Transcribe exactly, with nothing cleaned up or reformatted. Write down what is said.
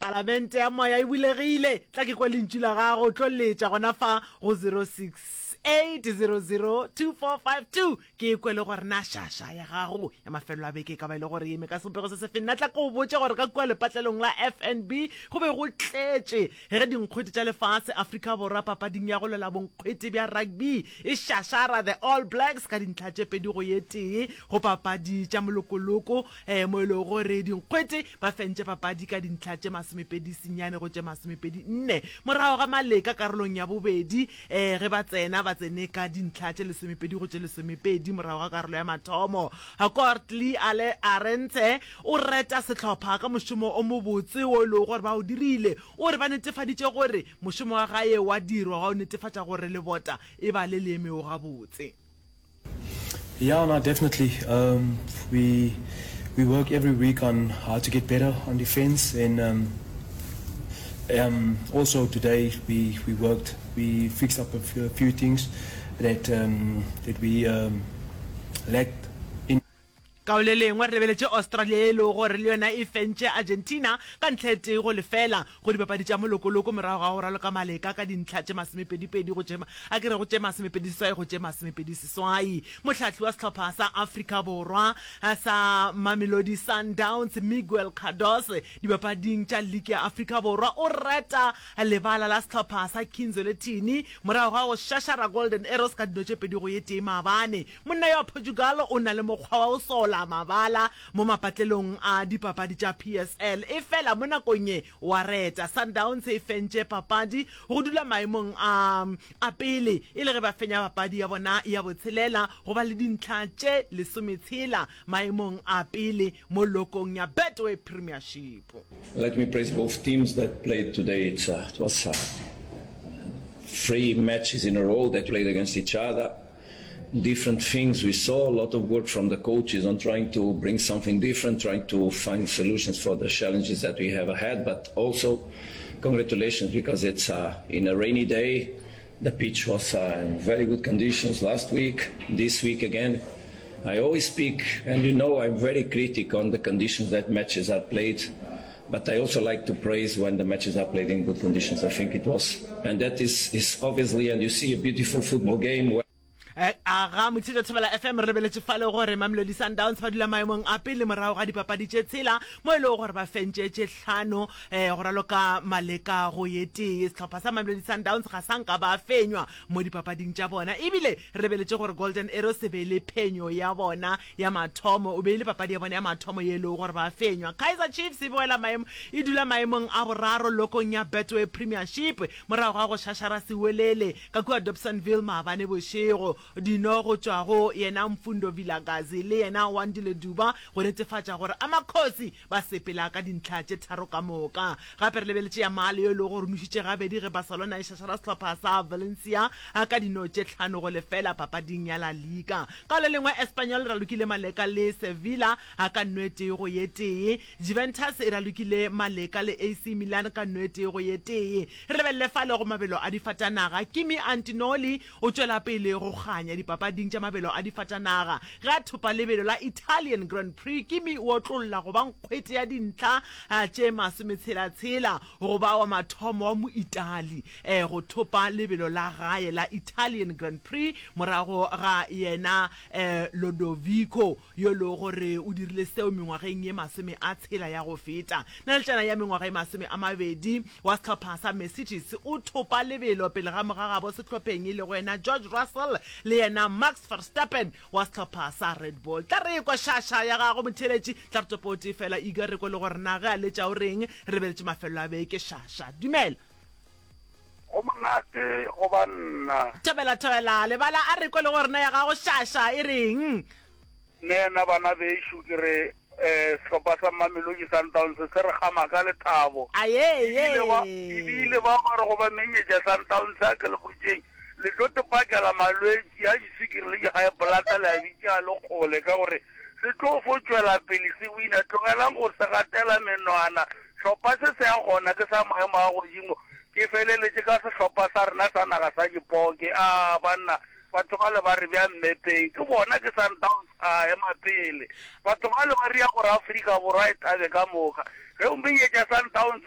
Palamente ya moya e bulegile, tla ke kwe lentšu la gago, tlo letša gona fa go zero six eight zero zero two four five two ke kwe le gore na šaša ya gago ya mafelelo a beke e ka ba e le gore e eme ka sebopego se sefe. Nna tla ke o botše gore ka kua lepatlelong la F N B go be go tletše ge dinkgwete tša lefase Afrika Borwa papading ya go lwela bonkgwete bja rugby e šašara the All Blacks ka dintlha tše pedi go ye tee go papadi tša molokoloko um mo e lego gore dinkgwete ba fentše papadi ka dintlha tše masomepedi senyane go tše masomepedi nne morago ga maleka karolong ya bobedi um ge ba tsena ba tsene ka dintlha tše lesomepedi go tše lesomepedi morago ga karolo ya mathomo. Kortli Arendse o reta sehlopha ka mošomo o mobotse wo e lego gore ba o dirile. O re ba netefaditše gore mošomo wa gae wa dirwa wa go netefatša gore lebota e ba le le emego gabotse. Yeah, no, definitely. Um, we we work every week on how to get better on defense, and um, um, also today we, we worked, we fixed up a few, a few things that um, that we um, lacked in. Ka le lengwe re lebeletše Australia ye e lego gore le yona e fentše Argentina ka ntlha e tee go lefela go dipapadi tša molokoloko morago ga go raloka maleka ka dintlha tše masomepedipedi go tše a ke re go tše masomepedi seswai go tše masomepedi seswai. Mohlahli wa sehlopha sa Afrika Borwa sa Mamelodi Sundowns Miguel Cardoso dipapading tša liki ya Afrika Borwa o reta lebala la sehlopha sa Kinzwelethini morago ga go šašara Golden Arrows ka dino tše pedi go ye tee maabane. Monna yo wa Portugal o na le mokgwa wa go sola mabala mo mapatlelong a dipapadi tša P S L, efela mo nakong ye wa reta. Sundowns e fentše papadi go dula maemong a a pele e le ge ba fenya papadi ya bona ya botshelela go ba le dintlha tše lesometshela maemong a pele mo lokong ya Betway Premiership. Let me praise both teams that played today. It's, uh, it was, uh, three matches in a row that played against each other. Different things we saw, a lot of work from the coaches on trying to bring something different, trying to find solutions for the challenges that we have ahead, but also congratulations because it's, uh, in a rainy day. The pitch was, uh, in very good conditions last week, this week again. I always speak, and you know I'm very critical on the conditions that matches are played, but I also like to praise when the matches are played in good conditions. I think it was, and that is, is obviously, and you see a beautiful football game. Where Eh, aga Motšhetšo Thobela F M re lebeletše fale gore Mamelodi Sundowns ba dula maemong a pele morago ga dipapadi tše tshela mo e lego gore ba fentše tše hlano, eh, go raloka maleka go ye tee. Sehlopha sa Mamelodi Sundowns ga sa nka ba fenywa mo dipapading tša bona, ebile re lebeletše gore Golden Arrows e be e le phenyo ya bona ya mathomo, o be e le papadi ya bona ya mathomo ye e lego gore ba fenywa. Kaizer Chiefs e boela maemo, e dula maemong a boraro lokong ya Betway Premiership morago ga go šašara Siwelele ka kua Dobsonville maabane bošego. Dino go tšwa go yena Mfundo Vilakazi le yena Wandile Duba go netefatša gore Amakhosi ba sepela ka dintlha tše tharo ka moka. Gape re lebeletše Yamal yo e lego gore o nošitše gabedi ge Barcelona e šašara sehlopha sa Valencia ka dino tše hlano go lefela papading ya La Liga. Ka le lengwe Espanyol e ralokile Maleka le Sevilla ka nno e tee go ye tee. Juventus e ralokile Maleka le A C Milan ka nno e tee go ye tee. Re lebelele fale go mabelo a difatanaga. Kimi Antinoli o tšwela pele go kganya dipapading tša mabelo a difatanaga. Ge a thopa lebelo la Italian Grand Prix, Kimi o otlolla go ba nkgwete ya dintlha tše masometshela-tshela go ba wa mathomo wa Moitali go thopa lebelo la gae la Italian Grand Prix morago ga yena Lodovico yo e lego gore o dirile seo mengwageng ye masome a tshela ya go feta. Naletšana ya mengwaga ye masome a mabedi wa sehlopha sa Mercedes o thopa lebelo pele ga mogagabo sehlopheng e lego yena George Russell le yena Max Verstappen wa sehlopha sa Red Bull. Tla re ekwa šaša ya gago motheeletši, tla re topo o tee fela Iga re kwe le gore na ge a letša o reng. Re lebeletše mafelelo a beke. Šaša, dumela. Go monate go ba nna. Thobela, thobela, lebala a re kwe le gore na ya gago šaša e reng. Nna bana bešo ke re, eh, sehlopha sa Mamelodi Sundowns se re gama ka lethabo. Aye, Ebile ba, ebile ba ba re go ba menyetša Sundowns a ke le botšeng, le tlo tepakela malwetši a diswikiri le di-high blood le a bitša le kgole ka gore se tlo fo tšwela pele se wina. Tlogelang go se gatela menwana. Hlopha se se ya gona ke sa maemo a godimo. Ke feleletše ka sehlopha sa rena sa naga sa dipoke. A banna, batho ba le ba re bja mmepeng. Ke bona ke Sundowns a ema pele. Batho ba le ba ria gore Afrika Borwa e thabe ka moka. Ge o menyetša Sundowns